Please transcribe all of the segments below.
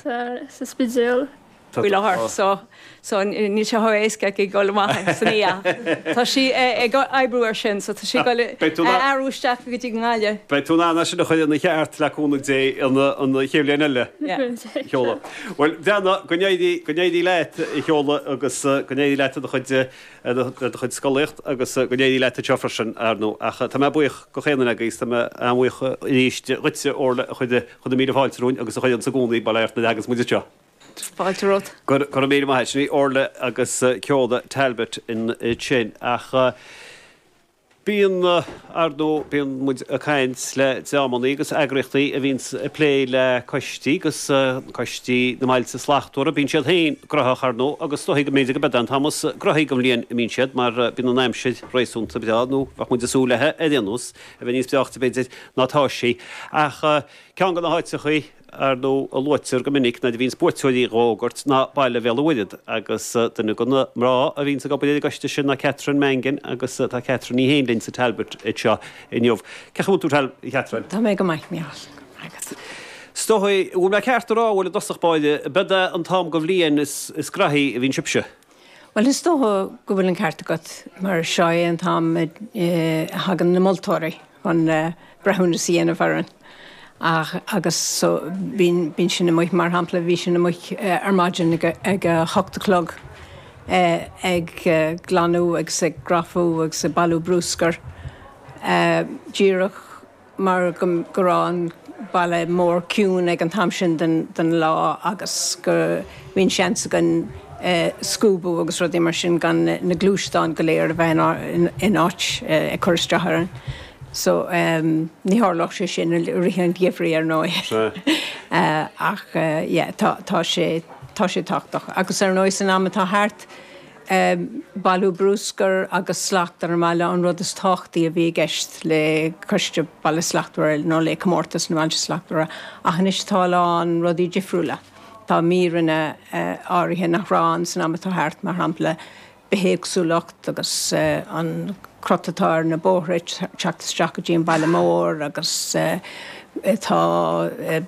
Sa Spidéal. Faoi láthair so so níl sé chomh éasca aici dul amach san oíche. Tá sí ag oibriú ar sin so tá sí ag dul a athrú isteach go dtí an nGaillimh. Beidh tú in ann é sin a chur ina cheart le cúnamh Dé an chéad bhliain eile, a Sheola. Bhuel, Bhreanna, go n-éirí go n-éirí leat, a Sheola, agus go n-éirí leat i do chuid i do chuid scolaíocht agus go n-éirí leat anseo freisin, ar ndóigh. Ach tá mé buíoch de chaon duine agaibh, tá mé an-bhuíoch arís dhuitse, Orla, a chuir na míle fáilte romhainn agus a chuireanns i gcónaí bail ort nuair a thaganns muid anseo. Fáilte romhat. Go raibh míle maith agat. Sin í Orla agus Ceola Talbot ansin. Ach bíonn, ar ndóigh, bíonn muid ag caint le dreamannaí agus eagraíochtaí a bhíonns ag plé le coistí agus coistí na mBailte Slachtmhara. Bíonn siad féin graitheach, ar ndóigh, agus is dóigh go mb'fhéidir go mbeidh an t-am is graithí den bhliain a mbíonn siad mar bíonn an aimsir réasúnta breá, nó bheadh muid ag súil léi ar aon nós, a bheith níos breáichte b'fhéidir ná atá sí. Ach ceann de na háiteachaí. ar ndóigh, a luaitear go minic nuair a bhíonns buaiteoirí á bhfógairt ná Baile Bhéal an Mhuirthead agus duine de na mná a bhíonns ag obair ar an gcoiste sin ná Catherine Mangan agus tá Catherine í féin linn sa Talbot anseo inniu. Cén chaoi a bhfuil tú, a Chatherine? Tá mé go maith, Mícheál. Go raibh maith agat. Is dóigh, an bhfuil mé ceart a rá, bhuel i dtosach báire, b'ead é an t-am den bhliain is graithí a bhíonn sibhse? Bhuel, is dócha go bhfuil an ceart agat, mar seo é an t-am a thagann na moltóirí chun breithiúnas a dhéanamh orainn. Ach, agus so, bíonn, bíonn sinn amuigh, mar shampla, bhí sinn amuigh ar maidin ag ag a hocht a chlog ag glanadh agus ag grafadh agus ag bailiú brúscair, díreach mar go raibh an baile mór ciúin ag an t-am sin den lá agus go bhí an seans againn scuabadh agus rudaí mar sin gan na gluaisteáin go léir a bheith in áit ag cur isteach orainn. So ní tharlódh sé sin i rith an gheimhridh ar ndóigh. Ach yeah tá tá sé tá sé tábhachtach. Agus ar ndóigh san am atá thart, Bailiú brúscair agus slacht ar an mbaile an rud is tábhachtaí a bhí i gceist le Coiste Baile Slachtmhara nó le Comórtas na mBailte Slachtmhara ach anois tá a lán rudaí difriúla. Tá míreanna áirithe nach raibh ann san am atá thart, mar shampla bithéagsúlacht agus an crot atá ar na bóithre ag teacht isteach go dtí an baile mór agus tá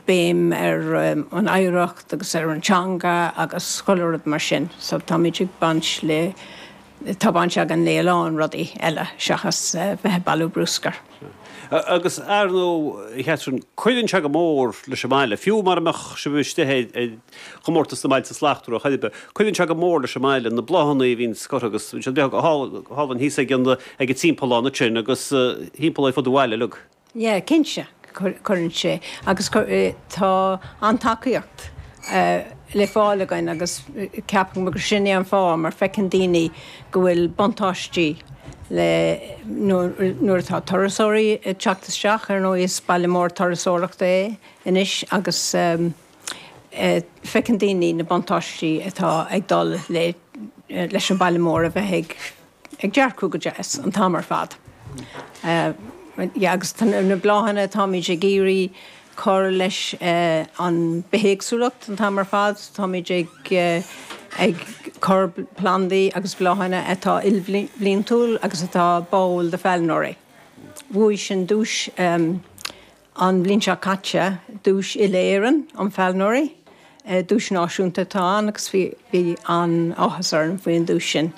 béim ar an oidhreacht. agus ar an teanga agus chuile rud mar sin so táimid ag baint le, tá baint againn le a lán rudaí eile seachas bheith ag bailiú brúscair. Agus ar ndóigh, a Chatherine, cuireann sé go mór leis an mbaile, fiú mara mbeadh sibh istigh ar chomórtas na mBailte Slachtmhara chor ar bith, cuireann sé go mór leis an mbaile, na bláthanna a bhíonn curtha agus bíonn siad go hálainn thíos ag an ag an timpeallán ansin agus thimpeall ar fud an bhaile uilig. Yeah, cinnte, cuireann sé. Agus tá an-tacaíocht le fáil againn agus ceapaim gur sin é an fáth mar feiceann daoine go bhfuil buntáistí le nuair atá turasóirí ag teacht isteach, ar ndóigh is baile mór turasóireachta é anois agus feiceann daoine na buntáistí atá ag dul le leis an baile mór a bheith ag ag dearcú go deas an t-am ar fad. Yeah, agus tá na bláthanna, táimid ag iarraidh cur leis an bithéagsúlacht an t-am ar fad, táimid ag ag cur plandaí agus bláthanna atá ilbhliantúil agus atá báúil do phailneoirí. Bhuaigh sinn duais An bhliain seo caite, duais uile-Éireann um phailneoirí, duais náisiúnta atá ann agus bhí bhí an-áthas orainn faoin duais sin.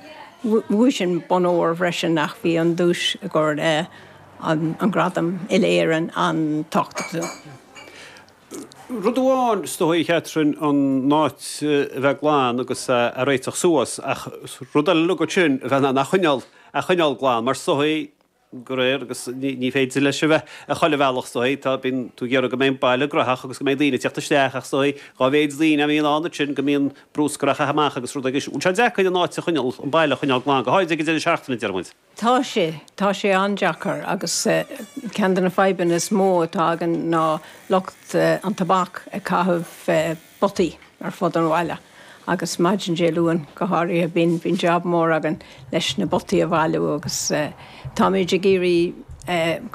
Bhuaigh sinn bonn óir freisin ach bhí an duais i gcomhair an an gradam uile-Éireann an-tábhachtach dúinn. Rud amháin is dóigh, a Chatherine, an áit a bheith glan agus a réiteach suas ach rud eile uilig ansin a bheith in ann a choinneáil a choinneáil glan mar is dóigh go réir agus ní féidir leis a bheith ar chuile bhealach is dóigh. Tá, bíonn tú ag iarraidh go mbeidh an baile graitheach agus go mbeidh daoine ag teacht isteach ach is dóigh dhá mhéid daoine a bhíonn ann ansin go mbíonn brúscar á chaitheamh amach agus rud agus bhfuil sé deacair an áit a choinneáil, an baile a choinneáil glan, go háirid ag an deireadh seachtaine, deir muid. Tá sé, tá sé an-deacair agus ceann de na fadhbanna is mó atá againn ná lucht an tobac ag caitheamh butaí ar fud an bhaile agus maidin Dé Luain go háirithe bíonn bíonn jab mór againn leis na butaí a bhailiú agus táimid ag iarraidh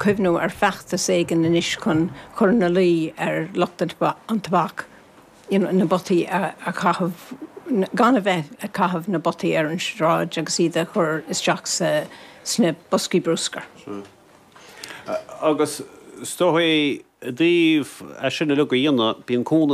cuimhniú ar feachtas éigin anois chun cur ina luí ar lucht an tobac you know na butaí a chaitheamh gan a bheith ag caitheamh na butaí ar an sráid agus iad a chur isteach sa sna boscaí brúscair. Agus is dóigh i dtaobh é sin uilig a dhéanamh, bíonn cúnamh.